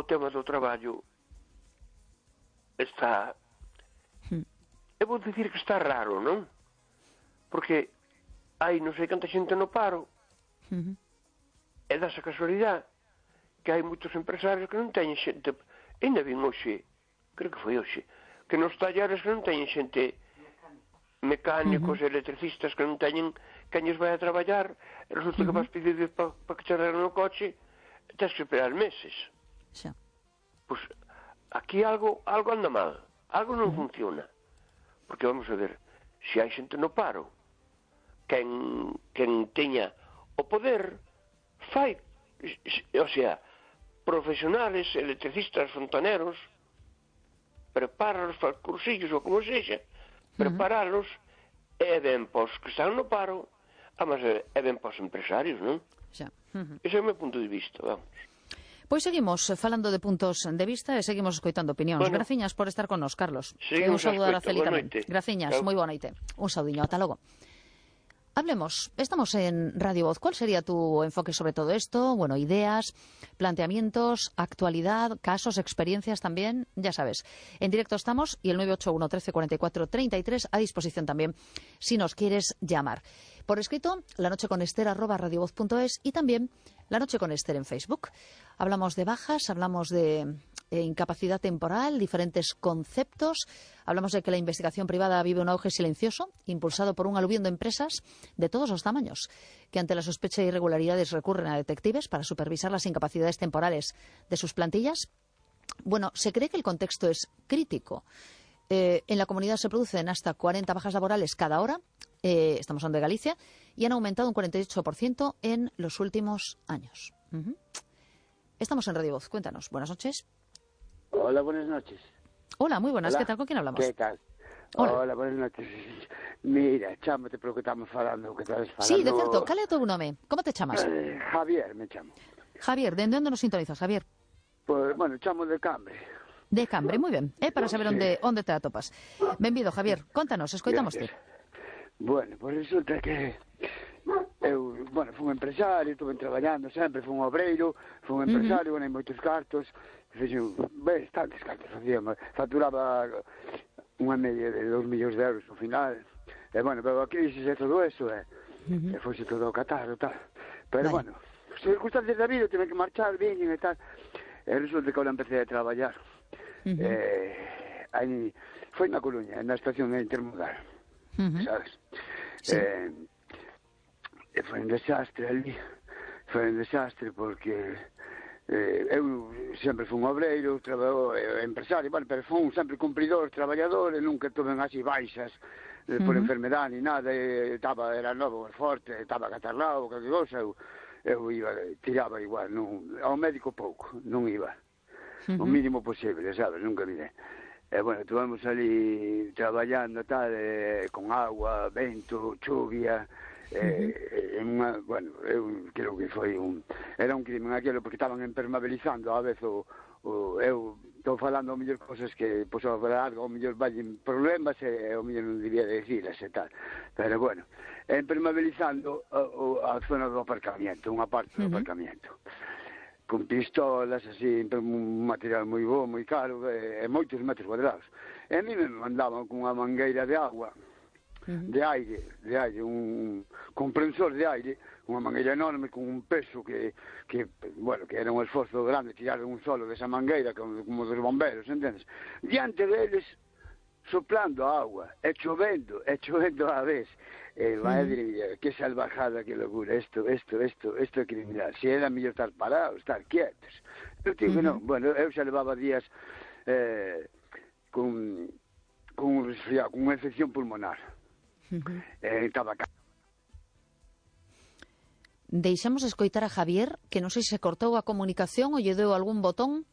tema do traballo está... Eu vou dicir que está raro, non? Porque hai non sei canta xente no paro e dasa casualidade que hai moitos empresarios que non teñen xente, ainda vin hoxe, creo que foi hoxe, que nos talleres que non teñen xente, mecánicos, electricistas que non teñen quen lles vai a traballar, e resulta que vas pedir para que te arreglen o coche e tens que esperar meses. Pois aquí algo anda mal, algo non funciona, porque vamos a ver, se hai xente no paro, quen teña o poder fai, o sea, profesionales, electricistas, fontaneros, prepáralos para os cursillos ou como sexa, preparalos e ben pos que están no paro, mas é ben pos empresarios, non? Ese é o meu punto de vista, vamos. Pois seguimos falando de puntos de vista e seguimos escoitando opinións. Graciñas por estar con nos, Carlos. Un saúdo a Araceli tamén. Graciñas, moi boa noite. Un saudiño, ata logo. Hablemos, estamos en Radio Voz. ¿Cuál sería tu enfoque sobre todo esto? Bueno, ideas, planteamientos, actualidad, casos, experiencias también, ya sabes. En directo estamos y el 981 13 44 33 a disposición también si nos quieres llamar. Por escrito, lanocheconester@radiovoz.es y también La Noche con Ester en Facebook. Hablamos de bajas, hablamos de incapacidad temporal, diferentes conceptos. Hablamos de que la investigación privada vive un auge silencioso, impulsado por un aluvión de empresas de todos los tamaños, que ante la sospecha de irregularidades recurren a detectives para supervisar las incapacidades temporales de sus plantillas. Bueno, se cree que el contexto es crítico. En la comunidad se producen hasta 40 bajas laborales cada hora, estamos hablando de Galicia, y han aumentado un 48% en los últimos años. Estamos en Radio Voz, cuéntanos. Buenas noches. Hola, buenas noches. Hola, muy buenas. Hola. ¿Qué tal? ¿Con quién hablamos? ¿Qué tal? Hola, buenas noches. Mira, chámate polo que estamos falando, que estás falando... Sí, de certo. Cal é o teu nome? Como te chamas? Javier, me chamo. Javier, ¿de onde nos sintonizas, Javier? Pues, bueno, chamo de Cambre. De Cambre, moi ben. É para saber onde te atopas. Benvido, Javier. Contanos, escoitamoste. Bueno, pues resulta que eu, bueno, fui un empresario, estuve traballando sempre, fui un obreiro, fui un empresario, ganhei moitos cartos, fixen bastantes cartos, facturaba unha media de 2 millóns de euros ao final, e bueno, pero a crisis e todo eso, e foxe todo ao catar e tal, pero bueno, circunstancias da vida, tive que marchar, viñen e tal, e resulta que ahora empecé a traballar, aí, foi na Coruña, na estación intermodal, sabes? Sí. Foi un desastre ali, foi un desastre porque eu sempre fui un obreiro, empresario, bueno, pero fui sempre cumpridor, traballador, e nunca tuve así baixas por enfermedade ni nada, era novo, forte, estaba catarrado, calquer cosa, eu iba, tiraba igual, ao médico pouco, non iba, o mínimo posible, sabes, nunca mirei. E, bueno, estuvemos ali traballando tal, con agua, vento, chuvia, bueno, eu creo que foi era un crimen aquilo, porque estaban impermeabilizando a vez eu estou falando ao mellor cosas que pois ao algo, ao mellor vallen problemas e ao mellor non debía decirlas e tal, pero bueno, impermeabilizando a zona do aparcamiento, unha parte do aparcamiento, con pistolas, así, un material moi bo, moi caro, e moitos metros cuadrados. E a mí me mandaban con unha mangueira de agua, de aire, un comprensor de aire, unha mangueira enorme con un peso que bueno, que era un esforzo grande tirar un solo desa mangueira, como dos bomberos, entendes? Diante deles, soplando a agua, e chovendo a vez. Madre mía, que salvajada, que locura, esto é criminal. Se era mellor estar parados, estar quietos. Eu digo, non, bueno, eu xa levaba días con un resfriado, con unha infección pulmonar. Estaba Deixamos escoitar a Javier, que non sei se cortou a comunicación ou lle deu algún botón.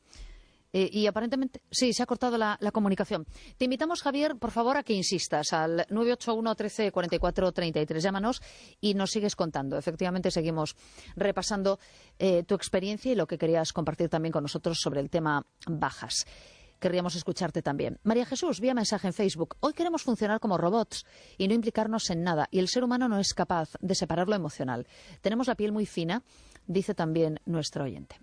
Y aparentemente, sí, se ha cortado la comunicación. Te invitamos, Javier, por favor, a que insistas al 981 13 44 33. Llámanos y nos sigues contando. Efectivamente, seguimos repasando tu experiencia y lo que querías compartir también con nosotros sobre el tema bajas. Querríamos escucharte también. María Jesús, vía mensaje en Facebook. Hoy queremos funcionar como robots y no implicarnos en nada. Y el ser humano no es capaz de separar lo emocional. Tenemos la piel muy fina, dice también nuestro oyente.